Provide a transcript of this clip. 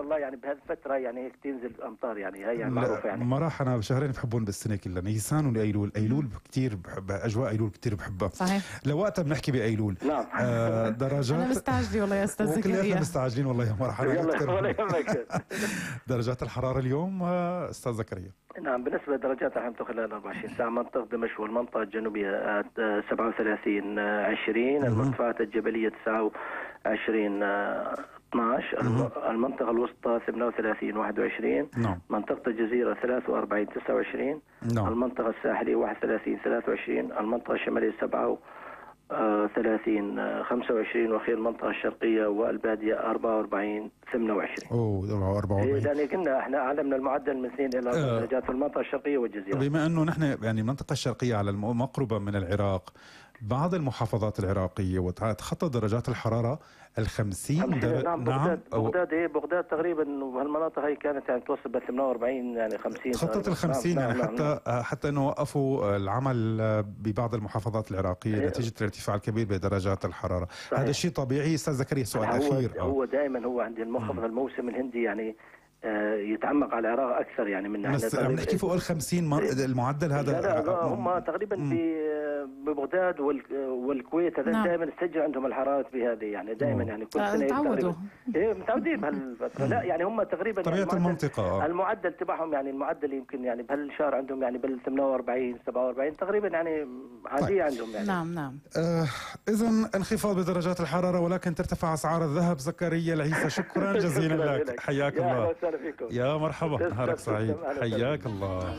الله يعني بهالفترة يعني هيك تنزل أمطار يعني هي يعني معروفة يعني. ما راح أنا بشهرين بحبهم بالسنة كلها، نيسان وأيلول. أيلول كتير بحب أجواء أيلول كتير بحبها. صحيح. لوقتها بنحكي بأيلول. نعم. درجات أنا مستعجلة والله يا أستاذ زكريا. وكلياتنا مستعجلين والله يا مرحبا. يلا ولا يهمك. درجات الحرارة اليوم أستاذ زكريا؟ نعم بالنسبة لدرجات الحرارة خلال 24 ساعة، منطقة دمشق والمنطقة الجنوبية 37 20، المرتفعات الجبلية 29 12، المنطقة الوسطى 38 21، نعم. منطقة الجزيرة 43 29، نعم. المنطقة الساحلية 31 23، المنطقة الشمالية 37 25، وأخير المنطقة الشرقية والبادية 44 28. أوه 44. يعني كنا احنا أعلى من المعدل من 2 إلى 4 درجات في المنطقة الشرقية والجزيرة. بما أنه نحن يعني المنطقة الشرقية على مقربة من العراق، بعض المحافظات العراقية وتخطى درجات الحرارة 50 درجة. نعم. بغداد تقريبا وهالمناطق هي كانت يعني توصل ب 48 يعني 50 تخطت 50 يعني. حتى انه وقفوا العمل ببعض المحافظات العراقية نتيجة الارتفاع الكبير بدرجات الحرارة. صحيح. هذا الشيء طبيعي. استاذ زكريا سؤال اخير. هو دائما هو عند المنخفض الموسم الهندي يعني يتعمق على العراق اكثر يعني من بس عم نحكي فوق ال 50 المعدل هذا. لا هم تقريبا ببغداد والكويت هذا دائما تسجل عندهم الحرارات بهذه يعني دائما يعني كل سنه تعودوا. متعودين بهالفتره. لا يعني هم تقريبا طبيعه يعني المنطقه المعدل تبعهم يعني المعدل يمكن يعني بهالشهر عندهم يعني بال 48 47 تقريبا يعني عاديه عندهم يعني. نعم. اذا انخفاض بدرجات الحراره ولكن ترتفع اسعار الذهب. زكريا العيسى شكرا جزيلا لك. حياك الله. يا اهلا وسهلا فيكم. يا مرحبا. نهارك سعيد. حياك الله.